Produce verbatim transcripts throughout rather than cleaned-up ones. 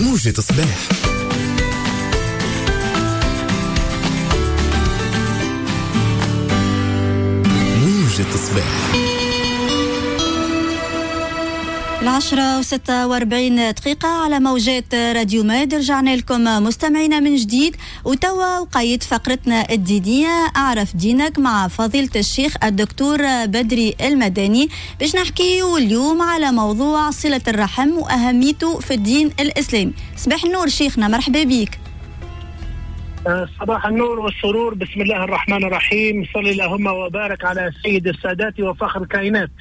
موجة صباح. موجة صباح. العشرة وستة وأربعين دقيقة على موجات راديو ماد. رجعنا لكم مستمعينا من جديد، وتوا وقيد فقرتنا الدينية أعرف دينك مع فضيلة الشيخ الدكتور بدري المداني، باش نحكيو اليوم على موضوع صلة الرحم وأهميته في الدين الإسلامي. صباح النور شيخنا، مرحبا بك. صباح النور والسرور. بسم الله الرحمن الرحيم، صلي اللهم وبارك على سيد السادات وفخر الكائنات.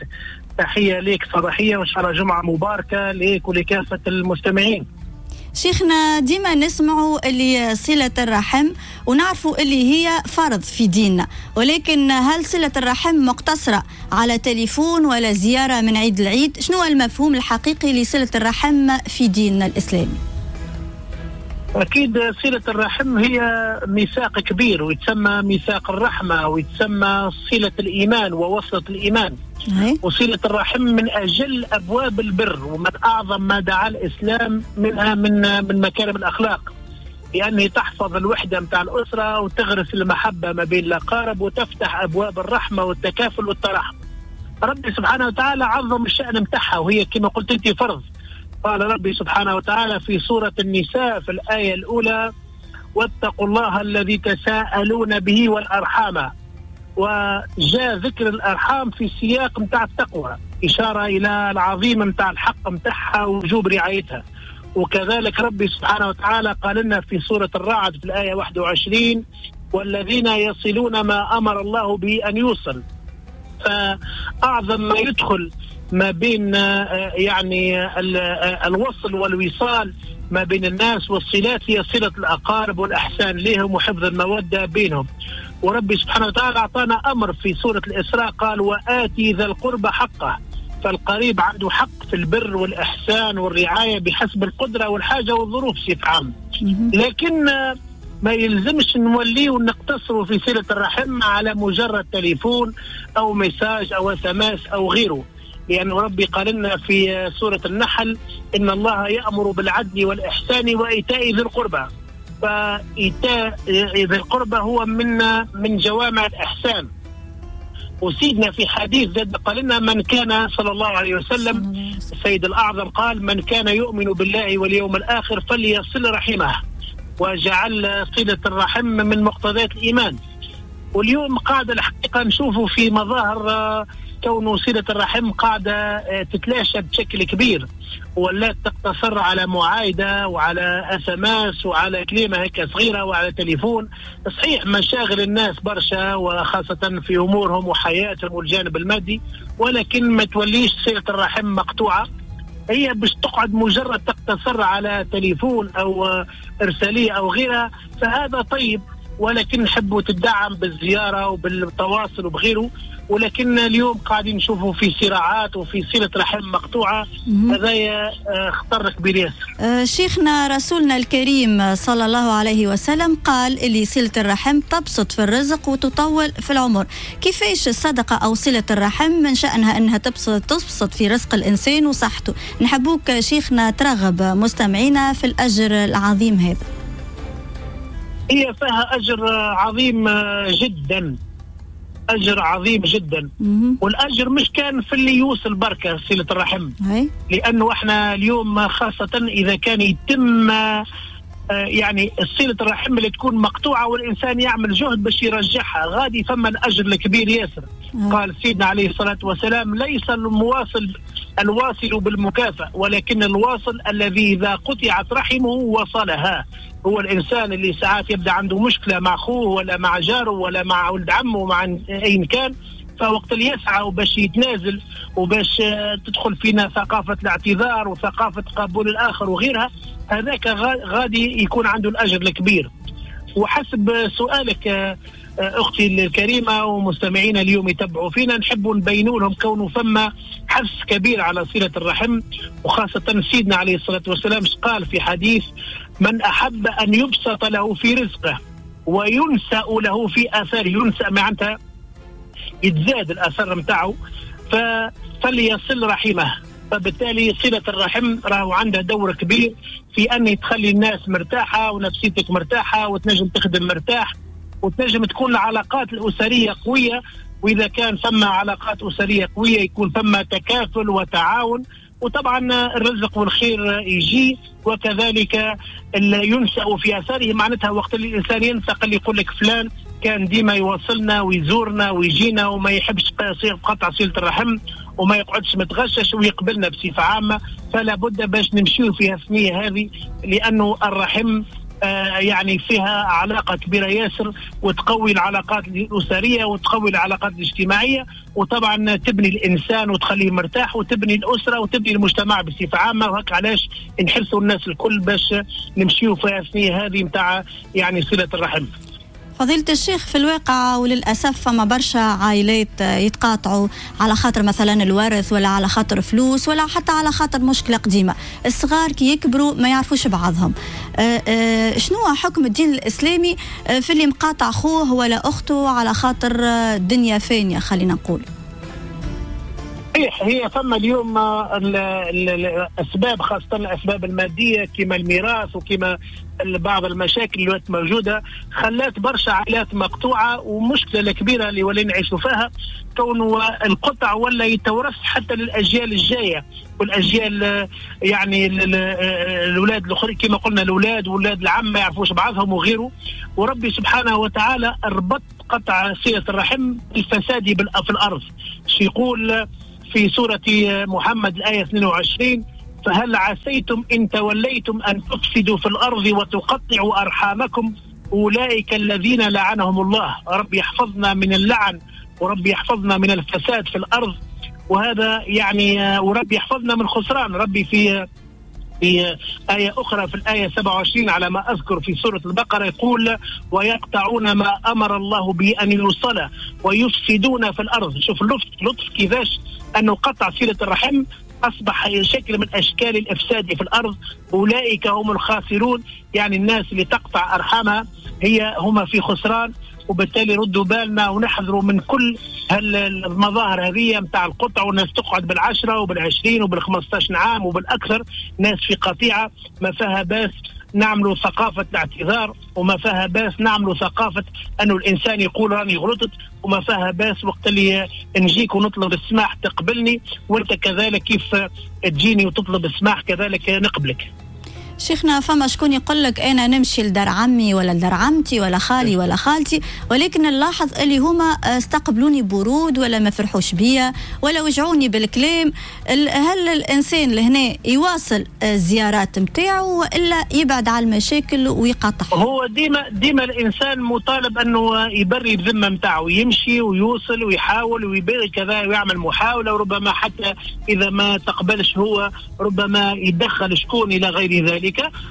تحية ليك صباحية وإن شاء الله جمعة مباركة ليك ولكافة المستمعين. شيخنا ديما نسمعوا اللي صلة الرحم ونعرفوا اللي هي فرض في ديننا، ولكن هل صلة الرحم مقتصرة على تليفون ولا زيارة من عيد العيد؟ شنو المفهوم الحقيقي لصلة الرحم في ديننا الإسلامي؟ أكيد صلة الرحم هي ميثاق كبير، ويتسمى ميثاق الرحمة، ويتسمى صلة الإيمان ووصلة الإيمان. وصلة الرحم من أجل أبواب البر، ومن أعظم ما دعا الإسلام منها من من مكارم الأخلاق، لأنه تحفظ الوحدة متاع الأسرة وتغرس المحبة ما بين الأقارب وتفتح أبواب الرحمة والتكافل والتراحم. ربي سبحانه وتعالى عظم الشأن متاعها، وهي كما قلت أنت فرض. قال ربي سبحانه وتعالى في سورة النساء في الآية الأولى: واتقوا الله الذي تساءلون به والأرحام. وجاء ذكر الأرحام في سياق متاع التقوى، إشارة إلى العظيم متاع الحق متاعها ووجوب رعايتها. وكذلك ربي سبحانه وتعالى قال لنا في سورة الرعد في الآية واحد وعشرين: والذين يصلون ما أمر الله به أن يوصل. فأعظم ما يدخل ما بين يعني الوصل والوصال ما بين الناس والصلات هي صلة الأقارب والأحسان لهم وحفظ المودة بينهم. وربي سبحانه وتعالى أعطانا أمر في سورة الإسراء، قال: وآتي ذا القربى حقه. فالقريب عنده حق في البر والإحسان والرعاية بحسب القدرة والحاجة والظروف بصفة عامة. لكن ما يلزمش نوليه ونقتصره في صلة الرحم على مجرد تليفون أو message أو SMS أو غيره، لأن ربي قال لنا في سورة النحل: إن الله يأمر بالعدل والإحسان وإيتاء ذي القربى. فإيتاء ذي القربى هو من من جوامع الإحسان. وسيدنا في حديث زاد قال لنا: من كان صلى الله عليه وسلم السيد الأعظم قال: من كان يؤمن بالله واليوم الآخر فليصل رحمه. وجعل صلة الرحم من مقتضيات الإيمان. واليوم قاعدة الحقيقة نشوفه في مظاهر كون صلة الرحم قاعدة تتلاشى بشكل كبير، ولا تقتصر على معايدة وعلى SMS وعلى كلمة هيك صغيرة وعلى تليفون. صحيح مشاغل الناس برشا وخاصة في أمورهم وحياتهم والجانب المادي، ولكن ما توليش صلة الرحم مقطوعة، هي باش تقعد مجرد تقتصر على تليفون أو إرسالية أو غيرها. فهذا طيب، ولكن نحبوا تدعم بالزيارة وبالتواصل وبغيره. ولكن اليوم قاعدين نشوفوا في صراعات وفي صلة رحم مقطوعة، هذا خطر كبير ياسر. شيخنا رسولنا الكريم صلى الله عليه وسلم قال اللي صلة الرحم تبسط في الرزق وتطول في العمر. كيفاش الصدقة أو صلة الرحم من شأنها أنها تبسط, تبسط في رزق الإنسان وصحته؟ نحبوك شيخنا ترغب مستمعينا في الأجر العظيم هذا. هي فيها أجر عظيم جدا، أجر عظيم جدا. والأجر مش كان في اللي يوصل بركة صلة الرحم، لأنه احنا اليوم خاصة إذا كان يتم يعني صلة الرحم اللي تكون مقطوعة والإنسان يعمل جهد باش يرجعها، غادي فما الأجر الكبير ياسر. قال سيدنا عليه الصلاة والسلام: ليس المواصل الواصل بالمكافأة، ولكن الواصل الذي إذا قطعت رحمه وصلها. هو الإنسان اللي ساعات يبدأ عنده مشكلة مع أخوه ولا مع جاره ولا مع ولد عمه ومع أي كان، فوقت اللي يسعى وباش يتنازل وباش تدخل فينا ثقافة الاعتذار وثقافة قبول الآخر وغيرها، هذاك غادي يكون عنده الأجر الكبير. وحسب سؤالك أختي الكريمة ومستمعينا اليوم يتبعوا فينا، نحب نبينوا لهم كونه فما حث كبير على صلة الرحم، وخاصة سيدنا عليه الصلاة والسلام قال في حديث: من أحب أن يبسط له في رزقه وينسأ له في أثره، ينسأ معناتها يتزاد الأثر متاعه، فليصل رحمه. فبالتالي صلة الرحم راهو عندها دور كبير في أن تخلي الناس مرتاحة ونفسيتك مرتاحة وتنجم تخدم مرتاح وتنجم تكون العلاقات الأسرية قوية. وإذا كان ثم علاقات أسرية قوية يكون ثم تكافل وتعاون، وطبعا الرزق والخير يجي، وكذلك ينشأ في أثره. معناتها وقت اللي الإنسان ينسق اللي يقول لك فلان كان ديما يوصلنا ويزورنا ويجينا وما يحبش قطع صلة الرحم وما يقعدش متغشش ويقبلنا بصفة عامة، فلا بد باش نمشيو في الثنية هذه، لأنه الرحم آه يعني فيها علاقة كبيرة ياسر، وتقوي العلاقات الأسرية وتقوي العلاقات الاجتماعية، وطبعا تبني الإنسان وتخليه مرتاح، وتبني الأسرة وتبني المجتمع بصفة عامة. وهك علاش نحسوا الناس الكل باش نمشيو في الثنية هذه متاع يعني صلة الرحم. فضيلة الشيخ، في الواقع وللأسف فما برشا عائلات يتقاطعوا على خاطر مثلا الورث، ولا على خاطر فلوس، ولا حتى على خاطر مشكلة قديمة. الصغار كي يكبروا ما يعرفوش بعضهم. أه أه شنو حكم الدين الإسلامي في اللي مقاطع خوه ولا أخته على خاطر الدنيا فانية خلينا نقول؟ صحيح، هي فما اليوم الأسباب، خاصة الأسباب المادية كما الميراث وكما بعض المشاكل اللي موجودة، خلات برشا عائلات مقطوعة. ومشكلة الكبيرة اللي ولينا نعيشوا فيها كونه القطع ولا يتورث حتى للأجيال الجاية والأجيال، يعني الأولاد الآخرين كما قلنا، الأولاد والأولاد العم ما يعرفوش بعضهم وغيره. وربي سبحانه وتعالى ربط قطع صلة الرحم الفساد في الأرض. يقول في سورة محمد الآية اثنين وعشرين: فهل عسيتم إن توليتم أن تفسدوا في الأرض وتقطعوا أرحامكم أولئك الذين لعنهم الله. رب يحفظنا من اللعن، ورب يحفظنا من الفساد في الأرض، وهذا يعني ورب يحفظنا من خسران. ربي في في آية أخرى في الآية سبعة وعشرين على ما أذكر في سورة البقرة يقول: ويقطعون ما أمر الله به أن يوصل ويفسدون في الأرض. شوف اللطف، لطف كيفاش أنه قطع صلة الرحم أصبح شكل من أشكال الإفساد في الأرض. أولئك هم الخاسرون، يعني الناس اللي تقطع أرحامها هي هم في خسران. وبالتالي ردوا بالنا ونحذروا من كل المظاهر هذه متاع القطع، والناس تقعد بالعشرة وبالعشرين وبالخمستاش عام وبالأكثر، ناس في قطيعة ما فيها باس. نعملوا ثقافة الاعتذار، وما فيها باس نعملوا ثقافة أنه الإنسان يقول راني غلطت، وما فيها باس وقت اللي نجيك ونطلب السماح تقبلني، وانت كذلك كيف تجيني وتطلب السماح كذلك نقبلك. شيخنا، فما شكون يقول لك أنا نمشي لدار عمي ولا لدار عمتي ولا خالي ولا خالتي، ولكن نلاحظ اللي هما استقبلوني برود ولا ما فرحوش بيا ولا وجعوني بالكلام. هل الإنسان لهنا يواصل الزيارات متاعه وإلا يبعد على المشاكل ويقاطع؟ هو ديما ديما الإنسان مطالب أنه يبري بذمة متاعه، يمشي ويوصل ويحاول ويبري كذا ويعمل محاولة، وربما حتى إذا ما تقبلش هو ربما يدخل شكون إلى غير ذلك.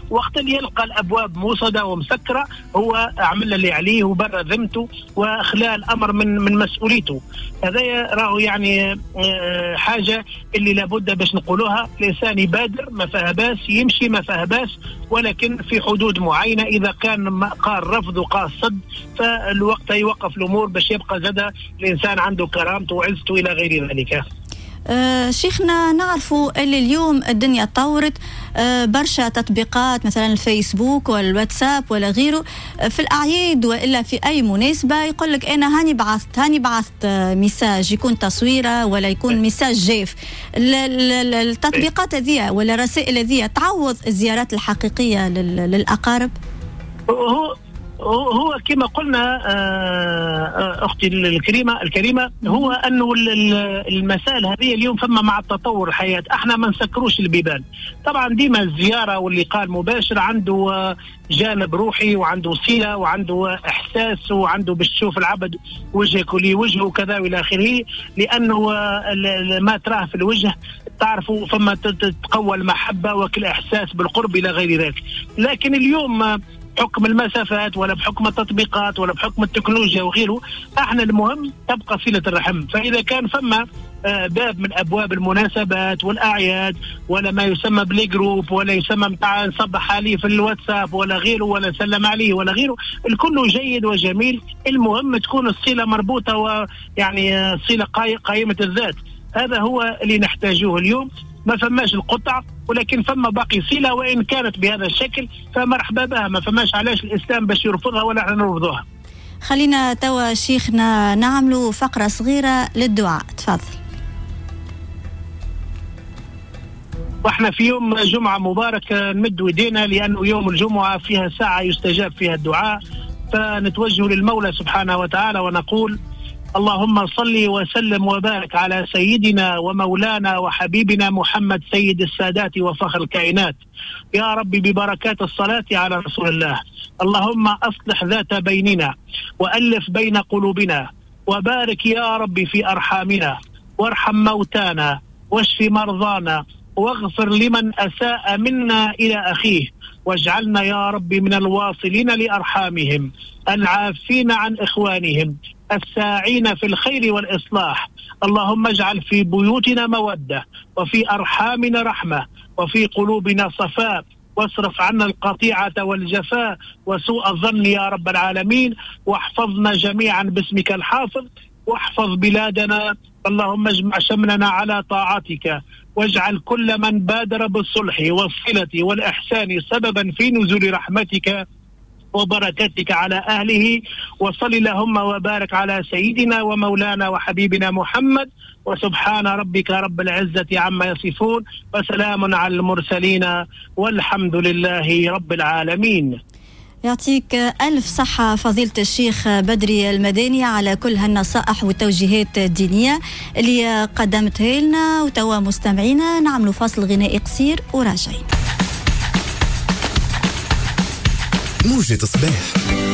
وقت اللي يلقى الأبواب موصدة ومسكرة هو عمل اللي عليه وبرى ذمته وخلال الأمر من من مسؤوليته. هذا راهو يعني حاجة اللي لابد باش نقولوها، الإنسان يبادر ما فيها باس، يمشي ما فيها باس، ولكن في حدود معينة. إذا كان قال رفض وقال صد فالوقت يوقف الأمور باش يبقى زاد الإنسان عنده كرامته وعزته إلى غير ذلك. أه شيخنا، نعرفوا اللي اليوم الدنيا تطورت، أه برشا تطبيقات مثلا الفيسبوك والواتساب ولا غيره، في الأعياد وإلا في أي مناسبة يقول لك أنا هاني بعثت هاني بعثت message، يكون تصويرة ولا يكون message جاف. التطبيقات هذه ولا الرسائل هذه تعوض الزيارات الحقيقية للأقارب؟ هو هو كما قلنا أختي الكريمة الكريمة هو أنه المسائل هذه اليوم فما مع التطور الحياة احنا ما نسكروش البيبان. طبعا ديما الزيارة واللقاء المباشر عنده جانب روحي وعنده صلة وعنده إحساس وعنده باش تشوف العبد وجهك ولي وجهه وكذا وإلى آخره، لأنه ما تراه في الوجه تعرفوا فما تتقوى المحبة وكل إحساس بالقرب إلى غير ذلك. لكن اليوم بحكم المسافات ولا بحكم التطبيقات ولا بحكم التكنولوجيا وغيره، احنا المهم تبقى صلة الرحم. فإذا كان فما باب من أبواب المناسبات والأعياد ولا ما يسمى ب les groupes ولا يسمى متاع نصبح عليه في الواتساب ولا غيره ولا نسلم عليه ولا غيره، الكل جيد وجميل. المهم تكون الصلة مربوطة ويعني صلة قائمة الذات. هذا هو اللي نحتاجه اليوم. ما فماش القطع، ولكن فما باقي صلة وإن كانت بهذا الشكل فمرحبا بها، ما فماش علاش الإسلام باش يرفضها ولا احنا نرفضوها. خلينا توا شيخنا نعملوا فقرة صغيرة للدعاء، تفضل. واحنا في يوم جمعة مبارك نمد ايدينا، لأنه يوم الجمعة فيها ساعة يستجاب فيها الدعاء، فنتوجه للمولى سبحانه وتعالى ونقول: اللهم صل وسلم وبارك على سيدنا ومولانا وحبيبنا محمد سيد السادات وفخر الكائنات. يا ربي ببركات الصلاة على رسول الله، اللهم أصلح ذات بيننا وألف بين قلوبنا، وبارك يا ربي في أرحامنا، وارحم موتانا، واشف مرضانا، واغفر لمن أساء منا إلى أخيه، واجعلنا يا ربي من الواصلين لأرحامهم، العافين عن إخوانهم، الساعين في الخير والإصلاح. اللهم اجعل في بيوتنا مودة، وفي أرحامنا رحمة، وفي قلوبنا صفاء، واصرف عنا القطيعة والجفاء وسوء الظن يا رب العالمين، واحفظنا جميعا باسمك الحافظ، واحفظ بلادنا. اللهم اجمع شملنا على طاعتك، واجعل كل من بادر بالصلح والصلة والإحسان سببا في نزول رحمتك وبركتك على أهله. وصل اللهم وبارك على سيدنا ومولانا وحبيبنا محمد، وسبحان ربك رب العزة عما يصفون، وسلام على المرسلين، والحمد لله رب العالمين. يعطيك ألف صحة فضيلة الشيخ بدري المداني على كل هالنصائح والتوجيهات الدينية اللي قدمتها لنا. وتوا مستمعينا نعملوا فاصل غنائي قصير وراجعين. موجة صباح.